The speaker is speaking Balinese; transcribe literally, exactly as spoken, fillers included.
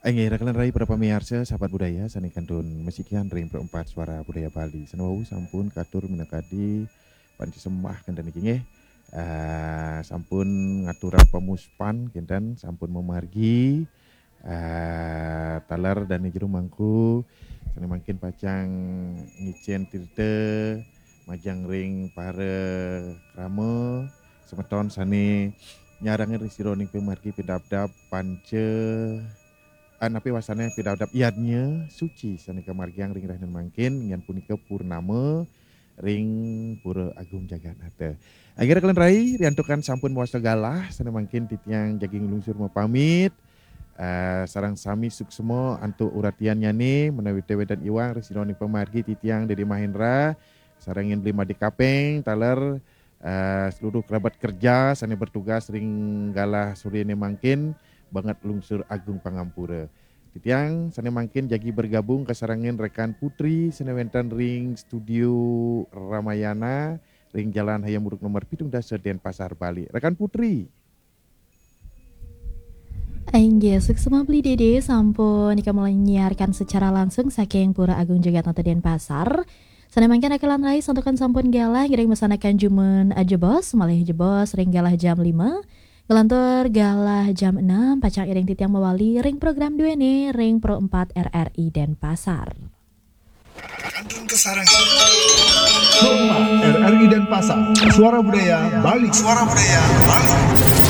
Inggih, rekan rai para pamiarsa, sahabat budaya, sané kantun masikian ring Pro empat Suara Budaya Bali. Sané wau sampun katur minakadi panca sembah kénten niki nggih. Eh, sampun ngaturang pamuspan kénten, sampun mamargi. Eh, taler dané jero mangku, sané mangkin pacang ngicén tirta majeng ring para krama, semeton sané nyarengin ring sajeroning pamargi pidabdab panca ah, napi wastané pidabdab yadnya suci sané kamargiang ring rahinané mangkin, inggih punika purnama ring Pura Agung Jagatnata. Akhirnya kalian rai, riantukan sampun mawasta galah, sané mangkin titiang jagi nglungsur mapamit. Eh, sareng sami suksma antuk uratiannyané, menawi té wénten iwang ring sajeroning pamargi titiang Dédé Mahendra, sareng Bli Madé Kapeng, taler eh, seluruh kerabat kerja sané bertugas ring galah soréné mangkin, banget lungsur agung pangampura. Titiang sané mangkin jagi bergabung kasarengin rekan Putri sané wénten ring studio Ramayana ring Jalan Hayam Wuruk nomor pitung dasa Denpasar, Bali. Rekan Putri. Inggih, suksma Bli Dédé sampun nika mulai nyiarkan secara langsung saking Pura Agung Jagatnata Denpasar. Sané mangkin rekan rai santukan sampun galah ngiring masanakan jumun jebos, malih jebos ring galah jam lima. Nglantur galah jam enam, pacang iring titiang mawali ring program duéné ring Pro empat R R I Denpasar. Kantun kasarengin. Pro empat R R I Denpasar, Suara Budaya Bali. Suara Budaya Bali.